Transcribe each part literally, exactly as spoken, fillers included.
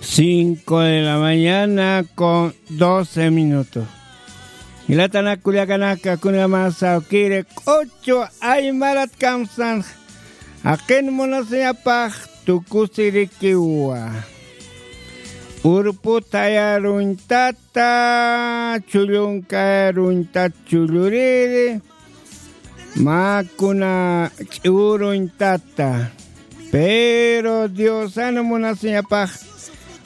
Cinco de la mañana con doce minutos. Jilatanak kullakanaka, kunjamasa kiri q'uchu aymarat kamsan, jaqin munasiñapax tukusirikiwa. Urputayaruñtata, chullunkayaruñtat chulluriri, mä kuna ch'uruñtata. Pero Diosan munasiñapax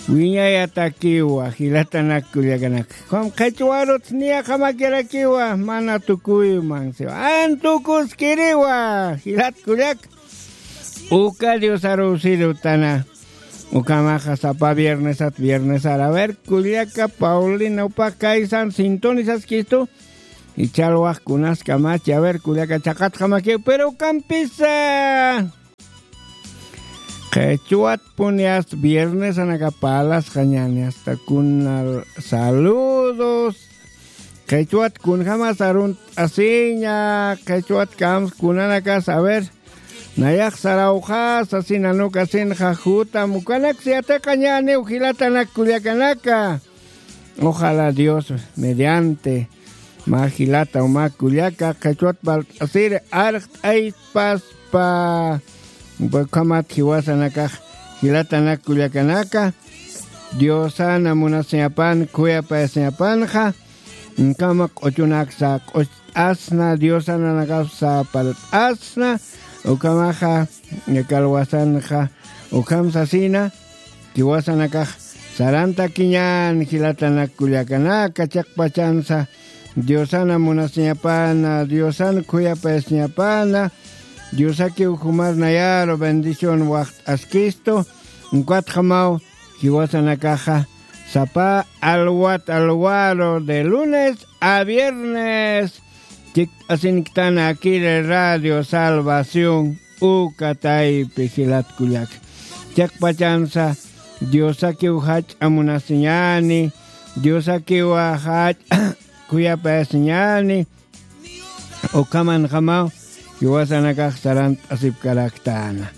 wiñayatakiwa, jilatanak kullakanaka. Qham qhichwarut niyaqamakirakiwa, mana tukuyman siwa. An tukuskiriwa, jilat kullak. Uka Diosaruw sirutana. Ukhamaxa sapa viernesat, viernesar. A ver, kullaka Paulina, upa kaysan sintonisaskistu. Ichal waj kunaskamachi, a ver, kullaka chaqatxamakiw, pero ukampisa. Qhichwatpuni hasta viernesanaka parlasxañäni, hasta kuna saludos. Qhichwat kunjamas arunt'asiña, qhichwat kams kunanakas, a ver, nayax sarawxa, sasin anukasinxa jutam, ukanak siyatiqañäniw jilatanak kullakanaka. Ojalá Dios mediante mä jilata o mä kullaka qhichwat parlt'asiri arxt'aypaspa. Ukhamat jiwasanakax jilatanak kullakanaka, Diosana munasiñapan, khuyapayasiñapanxa, ukhama q'uchunaksa q'ucht'asna, Diosananakapsa parlt'asna, ukhamaxa, yakalwasanxa, ukham sasina, jiwasanakax sarantakiñän jilatanak kullakanaka, chiqpachansa Diosana munasiñapana, Diosana khuyapayasiñapana, Diosakiw jumar nayaru bendición waxt'askistu, ukatjamaw jiwasanakaxa sapa alwat alwaru de lunes a viernes chikt'asinktan akiri Radio Salvación uka taypi jilat kullaka. Chiqpachansa Diosakiw jach'a munasiñäni, Diosakiw jach'a khuyapayasiñäni, ukhamanjamaw jiwasanakax sarant'asipkaraktäna.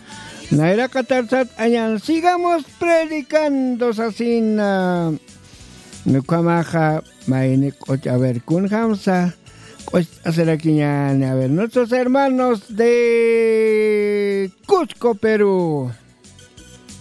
Nayraqatarsat añan, sigamos predicando sasina. Ukhamaxa mayni q'uch, a ver, kunjamsa q'ucht'asirakiñäni, a ver, nuestros hermanos de Cusco, Perú.